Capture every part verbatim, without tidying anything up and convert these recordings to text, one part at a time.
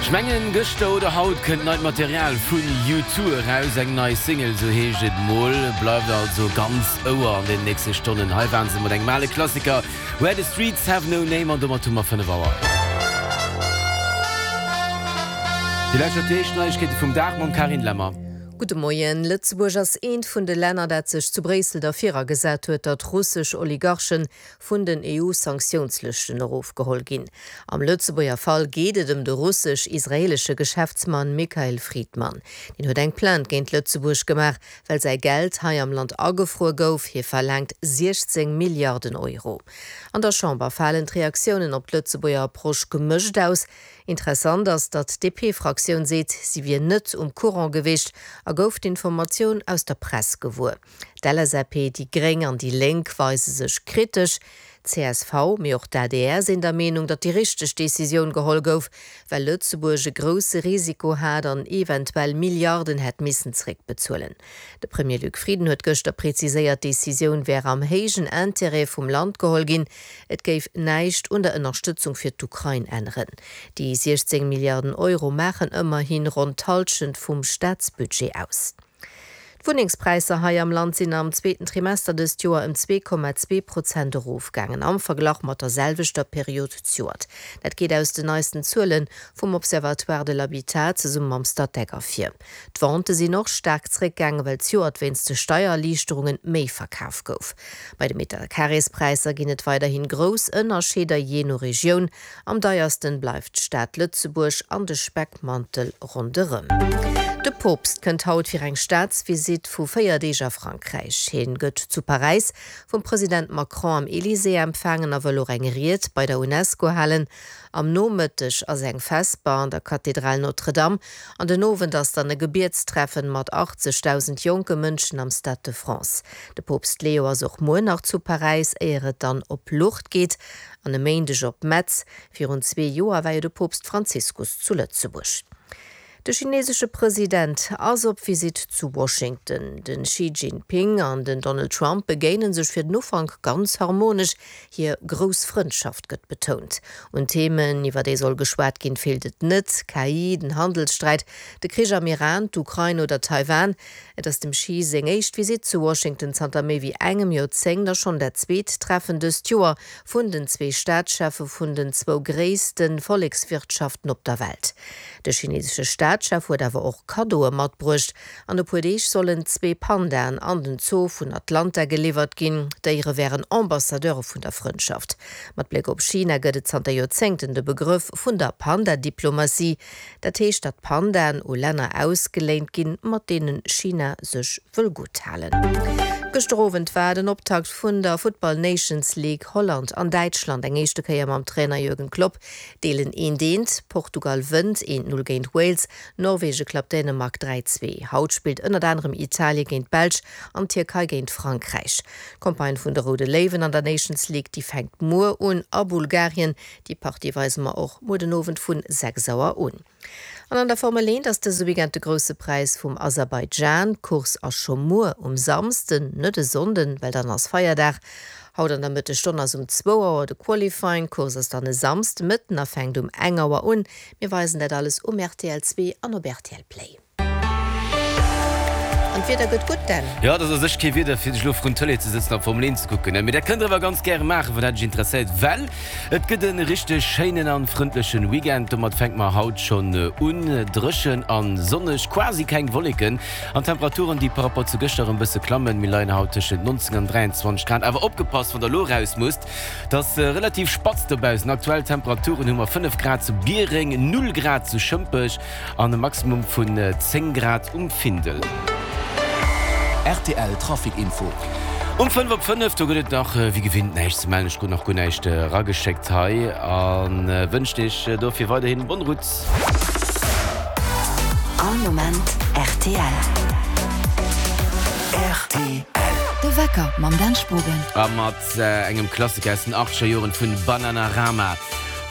Ech mengen gëschter oder haut kënnt neit Material vun U Two eraus, eng nei Single, sou heescht et mol. Bleift also ganz Ouer an den nächste Stonnen. Hei waren se mat engem ale Klassiker, Where the Streets Have No Name an domat hu mer fënnef Auer. Dir lauschtert déi éischt Neiegkeete vum Dag mam Carine Lemmer. Gudde Moien. Lëtzebuerg ass eent vun de Länner, dat sech zu Bréissel derfir agesat huet, datt russesch Oligarchen vun den EU-Sanktiounslëschten erofgeholl ginn. Am Lëtzebuerger Fall geet et ëm de russesch-israeelesche Geschäftsmann Mikhail Fridman. Deen huet eng Plainte géint Lëtzebuerg gemaach, well säi Geld hei am Land agefruer gouf. Hie verlaangt siechzéng Milliarden Euro. An der Chamber falen d'Reaktiounen op d'Lëtzebuerger Approche gemëscht aus. Interessant ass, datt d'DP-Fraktioun seet, si wier net um Courant gewiescht a gouf d'Informatioun aus der Press gewuer. D'LSAP, déi Gréng an déi Lénk weise sech kritesch. D'CSV, mee och d'ADR sinn der Meenung, datt déi richteg Decisioun geholl gouf, well Lëtzebuerg e grousse Risiko hat an eventuell Milliarden hätt missen zeréckbezuelen. De Premier Luc Frieden huet gëschter preziséiert, d'Decisioun wär am héijen Interêt vum Land geholl ginn. Et géif näischt un der Ënnerstëtzung fir d'Ukrain änneren. Déi siechzéng Milliarden Euro maachen ëmmerhi ronn d'Hallschent vum Staatsbudget aus. D'Wunnengspräisser hei am Land sinn am zweeten Trimester dëst Joer ëm zwee Komma zwee Prozent erofgaangen, am Verglach mat der selwechter Period zejoert. Dat geet aus den neisten Zuele vum Observatoire de l'habitat zesumme mam Statec ervir. D'Vente sinn och staark zeréckgaangen, well zejoert wéinst de Steiererliichterunge méi verkaf gouf. Bei de Metercarréspräisser ginn et weiderhi grouss Ënnerscheeder jee no Regioun. Am deiersten bleift d'Stad Lëtzebuerg an de Speckmantel ronderëm. De Poopst kënnt haut fir eng Staatsvisitt vu véier Deeg a Frankräich. Hien gëtt zu Paräis vum President Macron am Elysée empfaangen a wëll och eng Ried bei der Unesco halen. Am Nomëtteg ass eng Vesper an der Kathedral Notre-Dame an den Owend ass dann e Gebietstreffen mat achtzegdausend jonke Mënschen am Stade de France. De Poopst Leo ass och muer nach zu Paräis, éier et dann op Lourdes geet an e Méindeg op Metz. Virun zwee Joer war jo de Poopst Franziskus zu Lëtzebuerg. De chinesesche President ass op Visitt zu Washington. De Xi Jinping an den Donald Trump begéine sech fir den Ufank ganz harmonesch, hir grouss Frëndschaft gëtt betount. Un Themen, iwwer déi soll geschwat ginn, feelt et net, K I, den Handelssträit, de Krich am Iran, d'Ukrain oder Taiwan. Et ass dem Xi seng éischt Visitt zu Washington zanter méi wéi engem Joerzéngt a schonn dat zweet Treffen dëst Joer vun den zwee Staatscheffe vun den zwou gréisste Vollekswirtschaften op der Welt. De chinesesche Staatschef huet awer och Kaddoe matbruecht. An e puer Deeg sollen zwee Pandaen an den Zoo vun Atlanta geliwwert ginn. D'Déiere wären Ambassadeure vun der Frëndschaft. Mat Bléck op China gëtt et zanter Joerzéngten de Begrëff vun der Panda-Diplomatie. Dat heescht, datt Pandaen u Länner ausgeléint ginn, mat deene China sech wëll gutt halen. Gëschter Owend war den Optakt vun der Futtball Nations League. Holland an Däitschland, eng éischte Kéier mam Trainer Jürgen Klopp, deelen eent eent. Portugal wënnt eent null géint Wales, Norwege klappt Dänemark dräi zwee. Haut spillt ënnert anerem Italie géint d'Belsch an d'Tierkei géint Frankräich. D'Campagne vun de Roude Léiwen an der Nations League, déi fänkt muer un a Bulgarien. Déi Partie weise mer och muer den Owend vun sechs Auer un. An an der Formel eent ass dëse Weekend de Grousse Präis vum Aserbaidschan. D'Course ass scho muer um Samsden, net e Sonnden, well dann ass Feierdag. Haut an der Mëttesstonn ass um zwou Auer de Qualifying. D'Course ass dann e Samsde Mëtten a fänkt um eng Auer un. Mir weisen dat alles um rtl zwee an op rtl Play. An d'Wieder gëtt gutt, Dan. Jo, et ass u sech kee Wieder fir sech elo vrun d'Tëlee ze sëtzen a Formel eent ze kucken, mee dat kënnt der awer ganz gäre maachen, wann dat iech interesséiert, well et gëtt e richteg schéinen an frëndlechen Weekend. Domat fänke mer haut schonn un, dréchen an sonneg, quasi keng Wolleken an Temperaturen, déi par rapport zu gëschter erëm bësse klammen. Mir leien haut tëschent neunzéng an dräianzwanzeg Grad. Awer opgepasst, wann der elo eraus musst, et ass relativ spatz dobaussen. Aktuell Temperaturen hu mer fënnef Grad zu Biereng, null Grad zu Schëmpech an e Maximum vun zéng Grad um Findel. Rtl Trafic Info. Um fënnef op fënnef, do gëtt et nach wéi gewinnt näischt ze mellen. Ech krut nach guer näischt erageschéckt hei a wënscht iech dofir weiderhin bonne route. All Moment rtl. Rtl. De Wecker mam Dan Spogen. A mat engem Klassiker aus den achtzeger Joren vun Bananarama,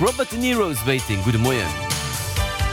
Robert De Niro's Waiting. Gudde Moien.